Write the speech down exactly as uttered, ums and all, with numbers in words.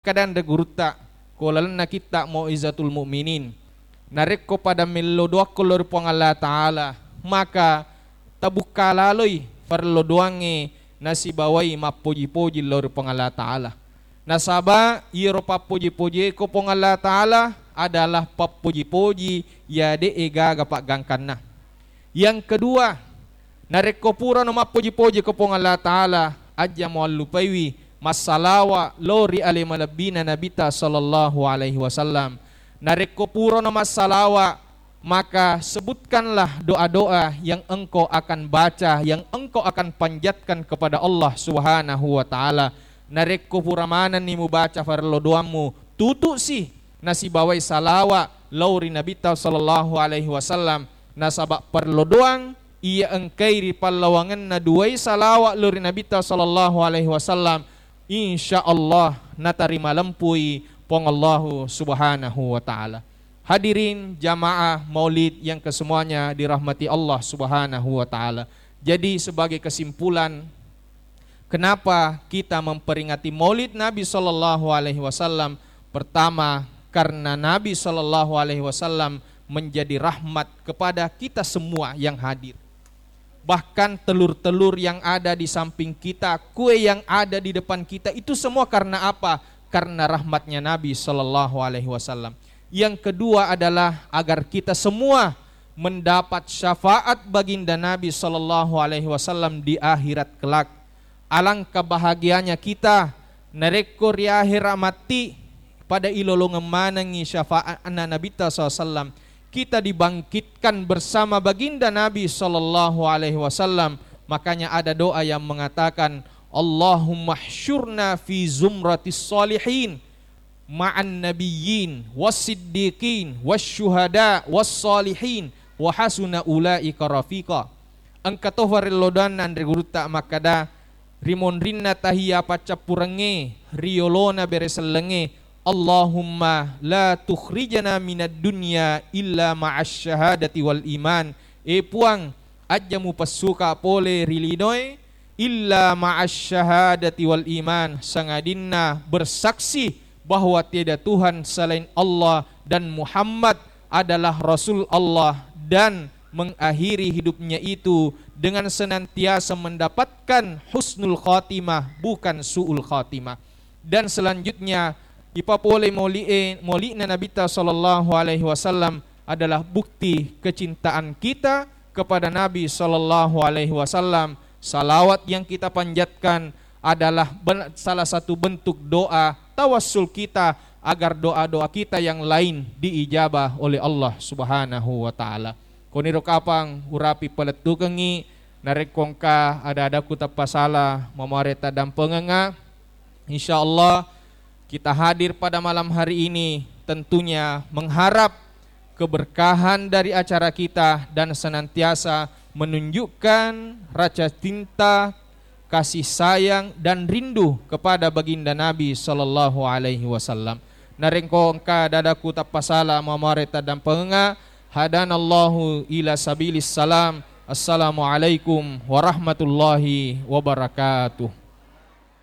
Makkedai anre gurutta, ko lalenna kitta Mau'izatul Mu'minin, narekko pada mello doakko lao ri Puang Allah Ta'ala, maka tabukka laloi farello doangnge nasibawai mappoji-poji lao ri Puang Allah Ta'ala. Nasaba iyaro pappoji-pojie ko Puang Allah Ta'ala adalah pappoji-poji iya de'e gaga paggangkanna. Yang kedua, narekko purano mappoji-poji ko Puang Allah Ta'ala, aja muallupaiwi massalawa lao ri ale malebbina Nabita sallallahu alaihi wasallam. Narekko purano massalawa, maka sebutkanlah doa-doa yang engkau akan baca, yang engkau akan panjatkan kepada Allah Subhanahu wa Ta'ala. Narekko pura manenni mubaca farello doammu, tutusi nasibawai salawa lao ri Nabita sallallahu alaihi wasallam, nasaba parello doang iya engkai ri pallawangenna duai salawa lao ri Nabita sallallahu alaihi wasallam, insya Allah natarima lempui Puang Allahu Subhanahu wa Ta'ala. Hadirin jamaah maulid yang kesemuanya dirahmati Allah Subhanahu wa Ta'ala. Jadi, sebagai kesimpulan, kenapa kita memperingati Maulid Nabi sallallahu alaihi wasallam? Pertama, karena Nabi sallallahu alaihi wasallam menjadi rahmat kepada kita semua yang hadir. Bahkan telur-telur yang ada di samping kita, kue yang ada di depan kita, itu semua karena apa? Karena rahmatnya Nabi sallallahu alaihi wasallam. Yang kedua adalah agar kita semua mendapat syafaat baginda Nabi sallallahu alaihi wasallam di akhirat kelak. Alangkah bahagianya kita narekko ri akhirat matti pada ilolongeng manengngi syafaatna Nabita sallallahu alaihi wasallam, kita dibangkitkan bersama baginda Nabi sallallahu alaihi wasallam. Makanya ada doa yang mengatakan, "Allahumma hsyurna fi zumratis salihin." Ma'an nabiyyin, was siddiqin, was syuhada, was salihin, wa hasuna ulaika rafiqa. Engka to farello doanna anre gurutta makkada, ri monrinna tahiyya paccappurengnge, ri yolona bere sellengnge, Allahumma la tukhrijana minad dunya illa ma'asy syahadati wal iman. E Puang, ajja mupessuka pole ri linoe, illa ma'asy syahadati wal iman, sangadinna bersaksi bahwa tiada Tuhan selain Allah dan Muhammad adalah Rasul Allah, dan mengakhiri hidupnya itu dengan senantiasa mendapatkan husnul khatimah, bukan su'ul khatimah. Dan selanjutnya, ipapole mauli'e, mauli'na Nabita sallallahu alaihi wasallam adalah bukti kecintaan kita kepada Nabi sallallahu alaihi wasallam. Salawat yang kita panjatkan adalah ben-, salah satu bentuk doa tawassul kita agar doa-doa kita yang lain diijabah oleh Allah Subhanahu wa Ta'ala. Koniro kapang urapi palettukengngi, narekko engka ada-adaku tappasala, mamuare taddampengengnga. Insya Allah, kita hadir pada malam hari ini tentunya mengharap keberkahan dari acara kita dan senantiasa menunjukkan rasa cinta, kasih sayang, dan rindu kepada Baginda Nabi sallallahu alaihi wasallam. Narekko engka ada-adaku tappasala, mamuare taddampengengnga, hadanallahu ila sabilis salam. Assalamualaikum warahmatullahi wabarakatuh.